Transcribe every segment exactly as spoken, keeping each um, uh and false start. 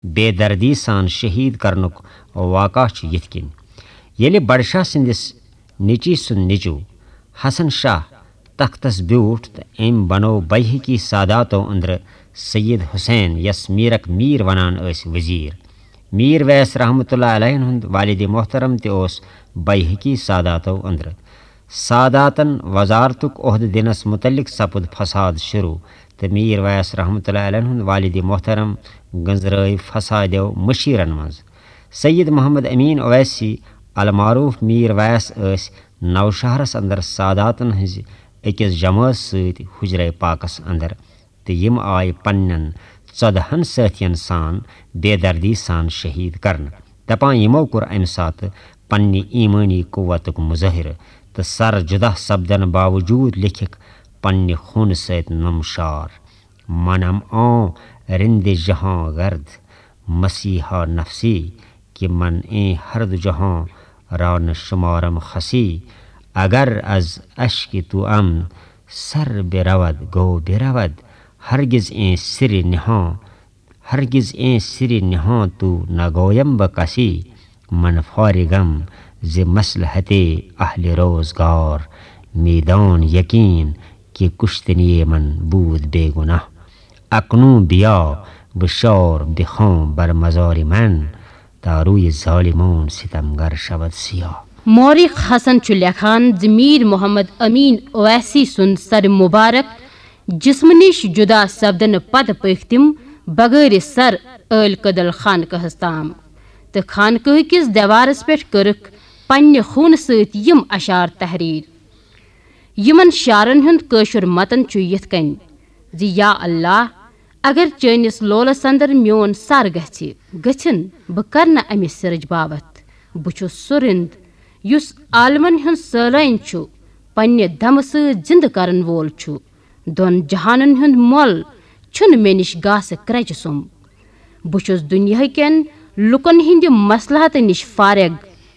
بے دردی سان شہید کرنُک واقعہ چھُ یِتھ کٔنۍ۔ ییٚلہِ بڈٕ شاہ سٕنٛدِس نیٚچی سُنٛد نیٚچو حسن شاہ تختس بیوٗٹھ تہٕ أمۍ بنوو بیہقی ساداتو أنٛدرٕ سید حسین، یس میرک میر ونان ٲسۍ، وزیر۔ میر ویس رحمتہ اللہ علیہ ہُنٛد والد محترم تہِ اوس بیہقی ساداتو أنٛدرٕ۔ ساداتن وزارتُک عہدٕ دِنس متعلق سپُد فساد شروع، تہٕ میر ویس رحمتہ اللہ علیہ ہُنٛد والد محترم گٔنزرٲوۍ فسادیو مشیرن منٛز۔ سید محمد امین اویسی المعروف میر ویس ٲسۍ نوشہرس اندر ساداتن ہٕنٛزِ أکِس جمٲژ سۭتۍ حجرے پاکس اندر، تہٕ یِم آیہِ پننٮ۪ن ژۄدہن سٲتھین سان بے دردی سان شہید کرنہٕ۔ دپان یِمو کوٚر امہِ ساتہٕ پننہِ ایمٲنی قوتُک مظٲہرٕ تہٕ سر جدا سپدن باوجود لیکھکھ پننہِ خوٗنہٕ سۭتۍ نمشار۔ منم آں رند جہاں گرد، مسیحا نفسی، کہ من ایں ہر دو جہاں را نہ شمارم خسی۔ اگر از اشک تو ام سر برود، گو برود، ہرگز ایں سر نہاں، ہرگز ایں سر نہاں تو نگویم بہ کسی۔ من فارغم ز مصلحت اہل روزگار، میدان یقین کہ کشتنی من بود بے گناہ۔ اکنون بیا و شار بخوان بر مزار من، تا روی ظالمان ستمگر شود سیاه۔ مورخ حسن چھُ لیکھان زِ میر محمد امین اویسی سُنٛد سر مبارک جسمہٕ نِش جدا سپدنہٕ پتہٕ پٔکۍ تِم بغٲرِ سر ٲلۍ کدل خانقاہس تام تہٕ خانقاہ کِس دیوارس پٮ۪ٹھ کٔرٕکھ پننہِ خوٗنہٕ سۭتۍ یِم اشعار تحریر۔ یِمن شعرن ہُنٛد کٲشُر متن چھُ یِتھ کٔنۍ زِ یا اللہ، اگر چٲنِس لولس اندر میون سر گژھِ، گٔژھِن، بہٕ کرٕ نہٕ امہِ سرٕچ باوتھ۔ بہٕ چھُس سُہ رِند یُس عالمن ہُنٛد سٲلٲنۍ چھُ پننہِ دمہٕ سۭتۍ زِندٕ کرن وول چھُ۔ دۄن جہانن ہُنٛد مۄل چھُنہٕ مےٚ نِش گاسہٕ کرٛچہِ سُم۔ بہٕ چھُس دُنیاہہٕ کٮ۪ن لُکن ہٕنٛدِ مصلحتہٕ نِش فارغ۔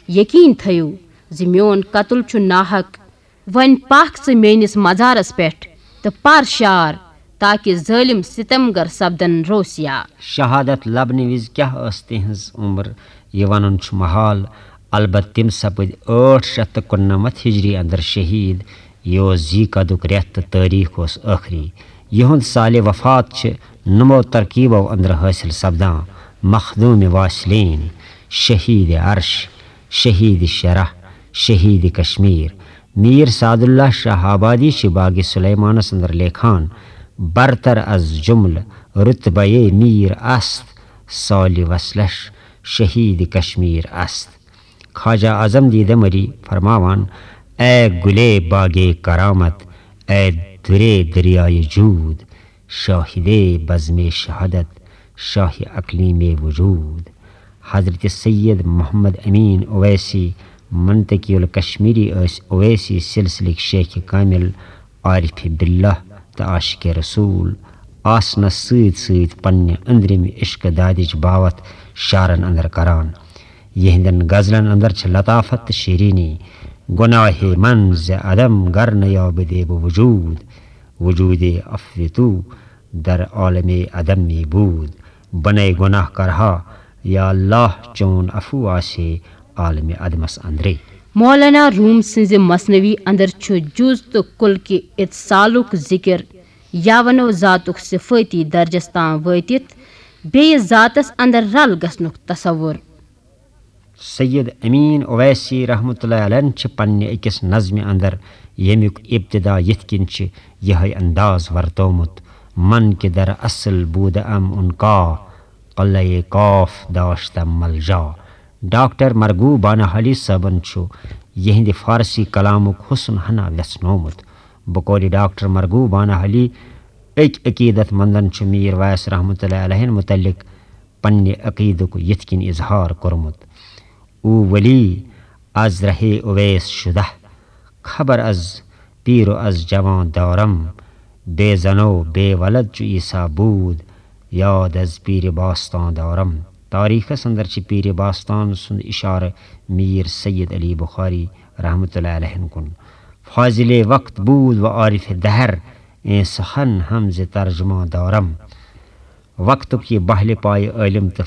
یقیٖن تھٲیِو زِ میون قتل چھُ ناحق۔ وۄنۍ پکھ ژٕ میٲنِس مزارس پٮ۪ٹھ تہٕ پر شعر، تاکہِ ظٲلم ستمگر سپدن روسیا۔ شہادت لبنہٕ وِزِ کیٛاہ ٲس تِہنٛز عمر، یہِ ونُن چھُ محال۔ البتہٕ تِم سپٕدۍ ٲٹھ شیٚتھ تہٕ کُننَمتھ ہجری اندر شہید۔ یہِ اوس ذی قعدُک رٮ۪تھ تہٕ تٲریخ اوس ٲخری۔ یِہُنٛد سالِ وفات چھِ نمو ترکیبو اندر حٲصِل سپدان: مخدوم واصلین، شہید عرش، شہید شرح، شہید کشمیر۔ میر سعد اللہ شاہ آبادی چھِ باغِ سلیمانس اندر لیکھان: برتر از جملہ رتبہ میر است، سالِ وصلش شہید کشمیر است۔ خواجہ اعظم دیدہ مری فرماوان: اے گلے باغِ کرامت، اے درے دریائے جود، شاہدِ بزمِ شہادت، شاہ اقلیمِ وجود۔ حضرت سید محمد امین اویسی، منطقی الکشمیری، ٲسۍ اویسی سلسلٕکۍ شیخ کامل، عارف باللہ تہٕ عاشق رسول آسنس سۭتۍ سۭتۍ پننہِ أنٛدرِمہِ عشق دادِچ باوتھ شعرن اندر کران۔ یِہنٛدٮ۪ن غزلن اندر چھِ لطافت تہٕ شیرینی۔ گناہ من ز عدم گر نیابدے بہ وجود، وجودِ عفو تو در عالمِ عدم می بود۔ بنے گناہ کرہا یا اللہ، چون عفو آسے عالمِ عدمس اندرے۔ مولانا روم سٕنٛزِ مثنوی اندر چھُ جُز تہٕ کُل کہِ اتصالُک ذکر، یا ونو ذاتُک صفٲتی درجس تام وٲتِتھ بیٚیہِ ذاتس اندر رل گژھنُک تصور۔ سید امین اویسی رحمتہ اللہ علیہ چھِ پننہِ أکِس نظمہِ اندر، ییٚمیُک ابتدا یِتھ کٔنۍ چھِ یِہوٚے انداز ورتومُت: من کہ در اصل بودم ان کا، قلعہ کاف داشتم ملجا۔ ڈاکٹر مرغوب بانہالی صٲبن چھُ یِہنٛدِ فارسی کلامُک حسن ہنا ویژھنومُت۔ بقولِ ڈاکٹر مرغوب بانہالی، أکۍ عقیدت مندن چھُ میر ویس رحمتہ اللہ علیہ متعلق پننہِ عقیدُک یِتھ کٔنۍ اظہار کوٚرمُت: او ولی از رہے اویس شدہ، خبر از پیر و از جوان دارم، بے زن و بے ولد چو عیسیٰ بود، یاد از پیر باستان دارم۔ تاریخس اندر چھِ پیر باستان سُنٛد اشارٕ میر سید علی بخاری رحمتہ اللہ علیہ کُن۔ فاضل وقت بود و عارف دہر، ایں سخن ہم ز ترجمان دارم۔ وقتُک یہِ بہلہِ پایہِ عٲلِم تہٕ